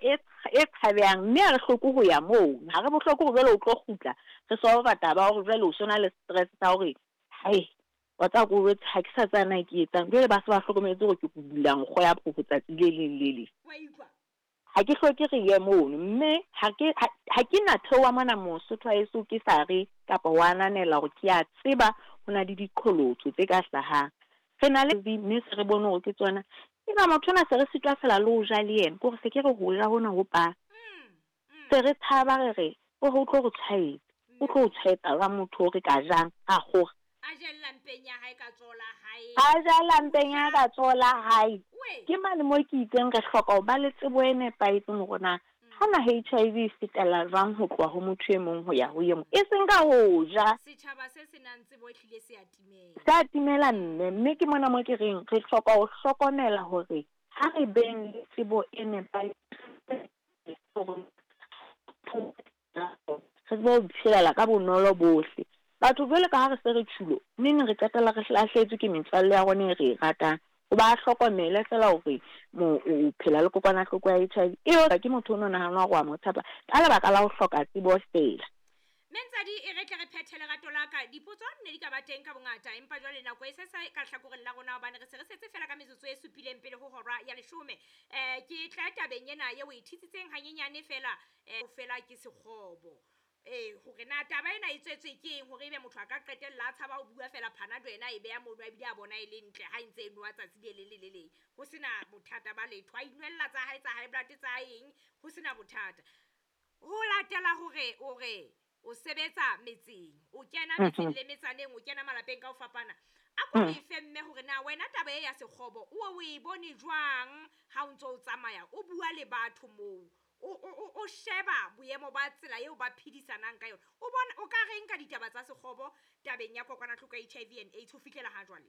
e e tshabehang mme ha re hloke ho ya moo. Ha re bohloko hore jwale o tlo kgutla re solva taba ya hore jwale o so na le stress sa hore hai wa tseba ke o jwetse ha ke sa tseba na ke etsang. Jwale ba se ba hlokometse hore ke bula nkgo ya phofo tsatsi le leng le leng. Wa utlwa? Ha ke hloke re ye mono mme ha ke ha ke na theoha mona Mosotho wa heso ke sa re kapa ho ananela hore ke a tseba ho na le diqholotso tse ka hlahang. Re na le mme se re bone hore ke tsona. Eba motho ona se re sitwa fela le ho ja le yena, ke hore se ke re ho ja hona ho pa. Se re tshaba re re o re o tlo re tshwaetsa. O tlo o tshwaetsa jwang motho o re ka jang a kgora. A jella mpeng ya hae ka tsoho la hae. A jella mpeng ya hae ka tsoho la hae. Ke mane moo ke itseng re hloka ho ba le tsebo e nepahetseng hore na hana HIV e fetela jwang ho tloha ho motho e mong ho ya ho e mong. E seng ka ho ja. Setjhaba se se nang tsebo ehlile se a timela. Se a timela mme. Mme ke mona moo ke reng re hloka ho hlokomela hore ha re beng le tsebo e nepahetseng hore re tsebe ho iphelela ka bonolo bohle. Batho jwale ka ha re se re tjhulo, neneng re qetella re lahlehetswe ke metswalle ya rona e re e ratang. Hoba a hlokomele feela hore o phela le kokwanahloko ya HIV. Eo ke motho o no nahana hore wa mo tshepa ka lebaka la ho hloka tsebo feela. Mme Ntsadi, e re tle re phethe lerato la ka. Dipotso ne di ka ba teng ka bongata, empa jwale nako e se sa ka hlakoreng la rona hobane re se re setse feela ka metsotso e supileng pele ho hora ya leshome. Ke tla tabeng ena eo o e thitsitseng hanyenyane feela, feela ke sekgobo. Ee, hore na taba ena e tswetswe ke eng hore ebe motho a ka qetella a tshaba ho bua feela Panado ena a e beha mono a bile a bona e le ntle ha e ntse e nowa tsatsi le leng le le leng. Ho sena bothata ba letho. A inwella tsa hae tsa high blood tsa eng, ho sena bothata. Ho latela hore o re o sebetsa metseng, o kena metseng le metsaneng, o kena malapeng ka ho fapana. A ko re fe mme hore na wena taba e ya sekgobo o o e bone jwang ha o ntso o tsamaya o bua le batho moo. O sheba boemo ba tsela eo ba phedisanang ka yona. O bona o ka reng ka ditaba tsa sekgobo tabeng ya kokwanahloko ya HIV and AIDS ho fihlela ha jwale?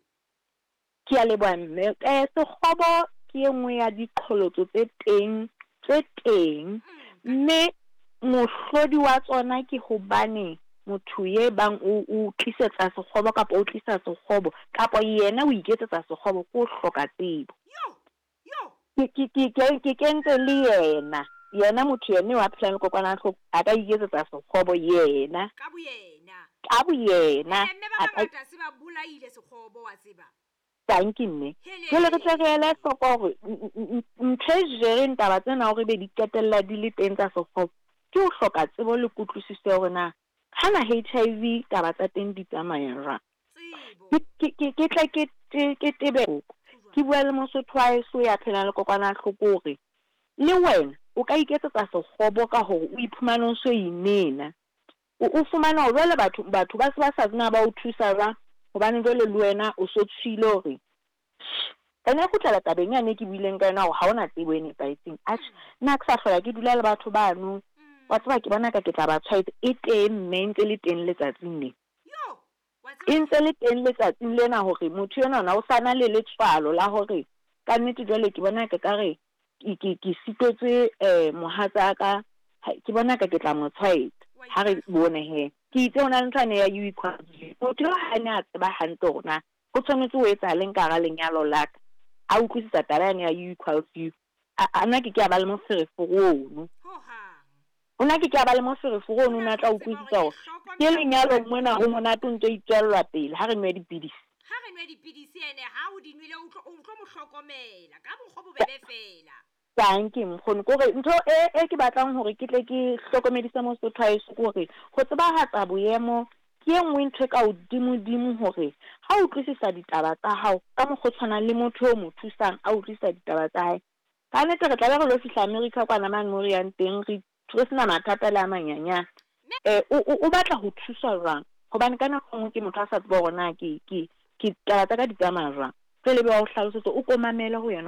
Ke a leboha mme. Sekgobo ke e nngwe ya diqholotso tse teng tse teng mme mohlodi wa tsona ke hobane motho ye bang o o tlisetsa sekgobo kapa o tlisa sekgobo kapa yena o iketsetsa sekgobo ke ho hloka tsebo. Ke ke ke ke ke kentse le yena yena motho yena eo a phelang le kokwanahloko a ka iketsetsa sekgobo yena. Ka boyena. Ka boyena. Mme ba bangata se ba bolaile sekgobo wa tseba. Dankie mme. Jwale re tle re ele hloko hore ntho e jereng taba tsena hore ebe di qetella di le teng tsa sekgobo ke ho hloka tsebo le kutlwisiso ya hore na hana HIV taba tsa teng di tsamaya jwang. Ke tle ke ke tebe ke bua le Mosotho wa heso ya phelang le kokwanahloko hore le wena o ka iketsetsa sekgobo ka hore o iphumane o so inena. O fumana hore jwale batho batho ba se ba sa tsena ba o thusa jwang hobane jwale le wena o so tshwile hore ene e kgutlela tabeng yane e ke buileng ka yona hore ha ona tsebo e nepahetseng. Atjhe, nna ha ke sa hlola ke dula le batho bano. Wa tseba ke bona ka ke tla ba tshwaetsa. E teng mme e ntse le teng letsatsing lena. E ntse le teng letsatsing lena hore motho enwa ona o sa na le letswalo la hore ka nnete jwale ke bona ke ka re ke ke ke sitetswe mohatsaka ke bona ka ke tla mo tshwaetsa. Ha re bone he. Ke itse ho na le ntho yane ya U equals U. Motho eo ha ne a tseba hantle hore na ho tshwanetse ho etsahaleng ka hara lenyalo la ka, a utlwisisa taba yane ya U equals U, a na ke ke a ba le moferefere ono. O na ke ke a ba le moferefere ono, o ne a tla utlwisisa hore ke lenyalong mona ho monate o ntso itswellwa pele ha re nwe dipidisi. Ha re nwe dipidisi ene ha o di nwele o tlo o tlo mo hlokomela ka mokgwa o bobebe feela. Dankie nkgono. Ke hore ntho e e ke batlang hore ke tle ke hlokomedise Mosotho wa heso ke hore ho tsebahatsa boemo ke e nngwe ntho e ka hodimodimo hore ha o utlwisisa ditaba tsa hao ka mokgwa o tshwanang le motho o mo thusang a utlwisisa ditaba tsa hae. Ka nnete re tlabe re lo fihla America kwana mane mo re yang teng re re sena mathata le a manyanyane. O o batla ho thuswa jwang? Hobane ka nako e nngwe ke motho a sa tseba hore na ke ke ke taba tsa ka di tsamaya jwang. Jwale ebe wa o hlalosetsa o ko mamele ho yena.